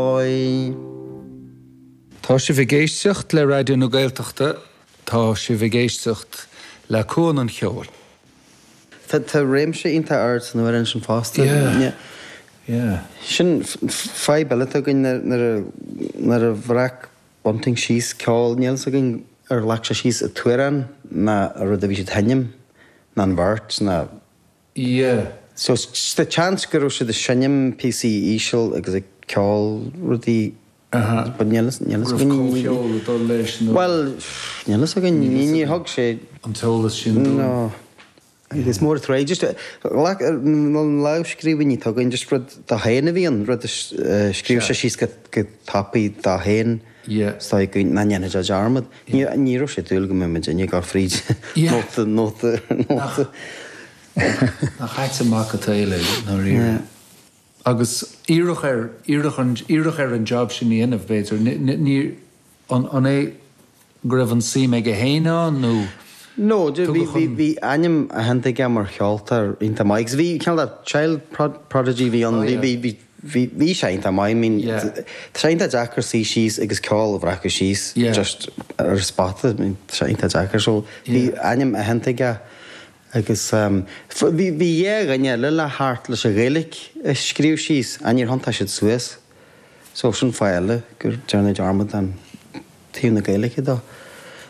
Oi. Tá sibh ag éisteacht le Raidió na Gaeltachta, tá sibh ag éisteacht le Cuan an Cheoil. Tá réimse iontach ard san amhrán sin fosta. Yeah, yeah. Sin fadhb eile atá againn nuair a bhreac Bunting síos ceol, níl 'fhios againn ar ghlac sé síos an t-amhrán ná an rud a bhí siad a sheinm, ná an bheirt ná. Yeah. So tá seans go raibh siad ag seinm píosaí íseal agus ag ceol rudaí but níl fhios Go raibh comhcheol ag dul leis nó. Bhuel, níl fhios againn, ní thug sé. an t-eolas sin dúinn. No. Is mór an trua just ghlac na lámhscríbhinní atá againn just rud dó féin a bhí ann, rud a scríobh sé síos go tapaidh dó féin. Yeah. Is dóigh go nach ndéanfaidh sé dearmad. Ní ní raibh sé ag dúil go mbeadh muidinne ag dul fríd nóta nóta nóta. Nach ait an mac an tsaoil é, ndáiríre. Yeah. Agus iarradh air, iarradh an, iarradh air an job sin a dhéanamh, b'fhéidir. Ní, an, an é go raibh an suim aige féin ann nó No, bhí, tugadh bhí, an. bhí ainm aitheanta aige mar cheoltóir iontach maith agus bhí cineál de child prodigy a bhí ann, Oh bhí, yeah. bhí, bhí, Bhí, bhí sé iontach maith, I mean, Yeah. tá sé iontach deacair suí síos agus ceol a bhreacadh síos Yeah. just ar an spota, I mean, tá sé iontach deacair. So bhí Yeah. ainm aitheanta aige agus um, bhí, bhí dhá dhuine eile le theacht leis an Ghaeilge a scríobh síos ach níor thiontaigh siad suas. So sin fáth eile gur déanadh dearmad den taobh na Gaeilge dó.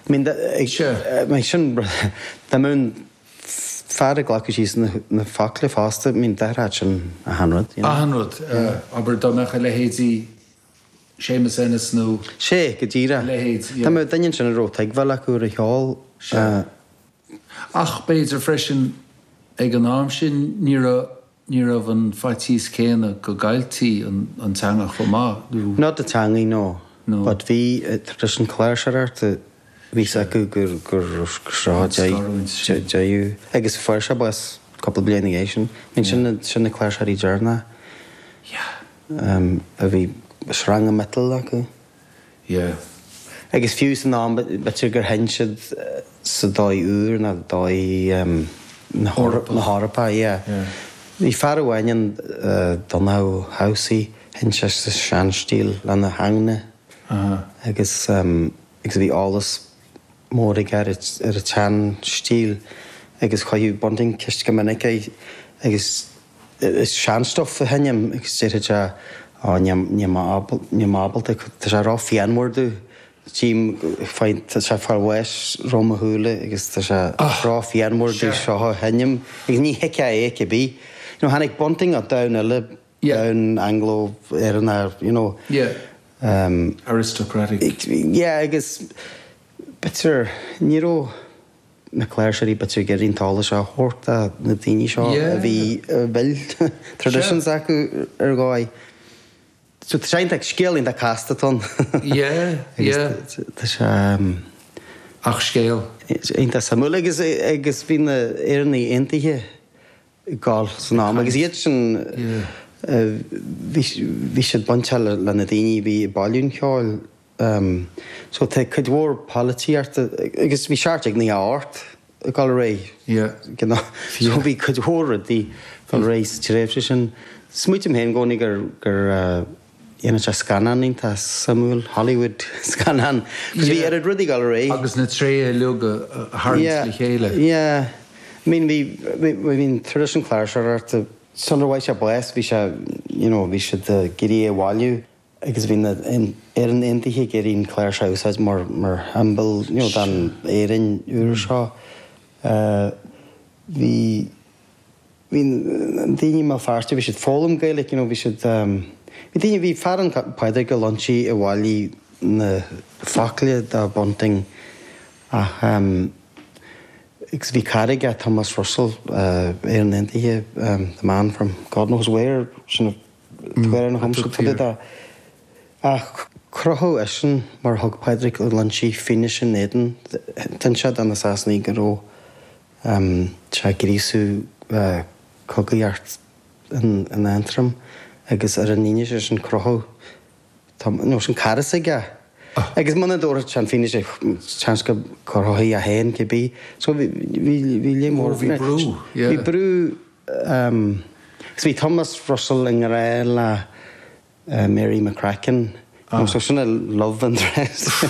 I mean, ag, Sure. I mean, sin, dá mbeadh an fear ag glacadh síos na focla fosta, I mean, d'athródh sin achan rud, you know. Achan rud, abair dá mbeadh a leithéidí Séamus Ennis nó. Sea, go díreach. A leithéid, yeah. Dá mbeadh duine ansin a raibh tuigbheáil acu ar an cheol. Sea. Ach b'fhéidir freisin ag an am sin ní raibh Ní raibh an faitíos céanna go gcailltí an teanga chomh maith, nó. Not the teangaidh, no. No. But bhí traidisiún cláirseoireachta, bhí 's acu gur gur seo An scarúint sin. deireadh agus fuair sé bás cúpla bliain ina dhiaidh sin. I mean sin na sin na cláirseoirí deireanacha Yeah. a bhí sreanga miotail acu. Yeah. Agus fiú san am, b'fhéidir gur sheinn siad sa dóigh úr nó dóigh na hEorpa, yeah. Yeah. Bhí fear amháin ann, Donnchadh Housie, sheinn sé sa seanstíl lena theanga agus agus bhí eolas mór aige ar an tseanstíl agus chuireadh Bunting ceist go minic air agus Is sean-stuff a sheinnim agus déarfadh sé Ó níl níl mé ábalta, tá sé ró-phianmhar domh, tchím, tá sé ag fáil bháis roimh mo shúile agus tá sé ró-phianmhar domh seo a sheinm agus ní thuigfeá é cibé. You know, tháinig Bunting ó domhan eile, domhan Anglo-Éireannach, you know. Yeah. Aristocratic. Yeah, agus b'fhéidir ní raibh. na cláirseoirí b'fhéidir ag iarraidh an t-eolas seo a thabhairt do na daoine seo a bhí a bhfuil traditions acu ar dhóigh. So tá sé iontach, scéal iontach casta atá ann. Yeah, yeah. Agus tá sé. Ach scéal. Iontach suimiúil agus agus bhí na Éireannaigh Aontaithe ag gabháil san am agus iad sin bhí bhí siad bainteach le na daoine a bhí ag bailiú an cheoil. So tá cuid mhór polaitíochta agus bhí 1798 ag dul ar aghaidh. Yeah. You know? So bhí cuid mhór rudaí ag dul ar aghaidh sa tréimhse sin. Smaoitim féin i gcónaí gur gur dhéanfadh sé scannán iontach suimiúil, Hollywood scannán. Cos bhí oiread rudaí ag dul ar aghaidh. Agus na tréithe uilig a tharraingt le chéile. Yeah. I mean bhí bhí bhí an traidisiún cláirseoireachta sular bhfuair sé bás bhí sé you know bhí siad ag iarraidh é a bhailiú. Agus bhí na Éireannaigh Aontaithe ag iarraidh an chláirseach a úsáid mar mar shiombail you know don Éirinn úr seo. Bhí bhí daoine i mBéal Feirste, bhí siad ag foghlaim Gaeilge, you know, bhí siad bhí daoine, bhí fear ann Pádraig Ó Loinsigh a bhailigh na focla do Bunting ach agus bhí cara aige Thomas Russell, Éireannach Aontaithe, the man from God knows where, sin a Tuairim na hIomscrúduithe Ach crochadh eisean mar thug Pádraig Ó Loinsigh fianaise in éadan D'inis sé do na Sasanaigh go raibh sé ag gríosú cogaíocht in Aontroim agus ar an fhianaise sin crochadh nó sin cara s'aige. Agus muna dtabharfadh sé an fianaise seans go gcrochfaí é féin cibé. So bhí bhí léim mhór. Bhí brú, yeah. Bhí brú. Agus bhí Thomas Russell i ngrá le. Mary McCracken. Ah. So sin a love interest.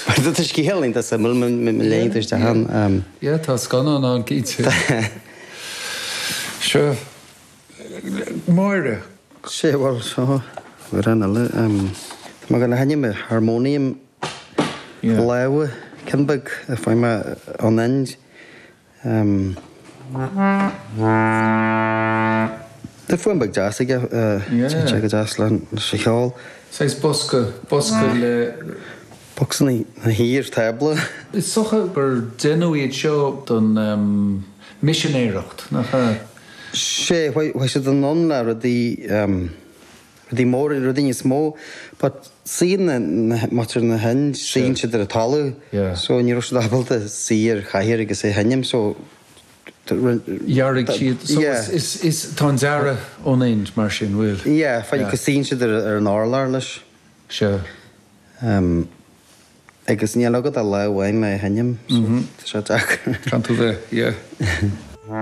Mar tá scéal iontach suimiúil má léann tú isteach ann. Yeah, tá scannán ann cinnte. Seo Máire. Sé bhuel seo amhrán eile. Tá mé ag gabháil a sheinm harmonium láimhe ceann beag a fuair mé ón Ind. Tá fuaim beag deas aige, téann sé go deas leis an cheol. Saghas bosca, bosca le. Bosca na thír, tábla. Is dócha gur deineadh iad seo don misinéireacht, nach ea? Sea, bheadh siad in ann le rudaí. Rudaí móra, rudaí níos mó but suíonn na, muintir na hInd, suíonn siad ar an talamh so ní raibh siad ábalta suí ar chathaoir agus é a sheinm so Dhearaigh siad, so is, is, tá an dearadh ón Ind mar sin, bhfuil? Yeah, fine, cos suíonn siad ar an urlár leis. Sea. Agus níl agat ach lámh amháin le é a sheinm so tá sé deacair. Caithfidh tú bheith, yeah.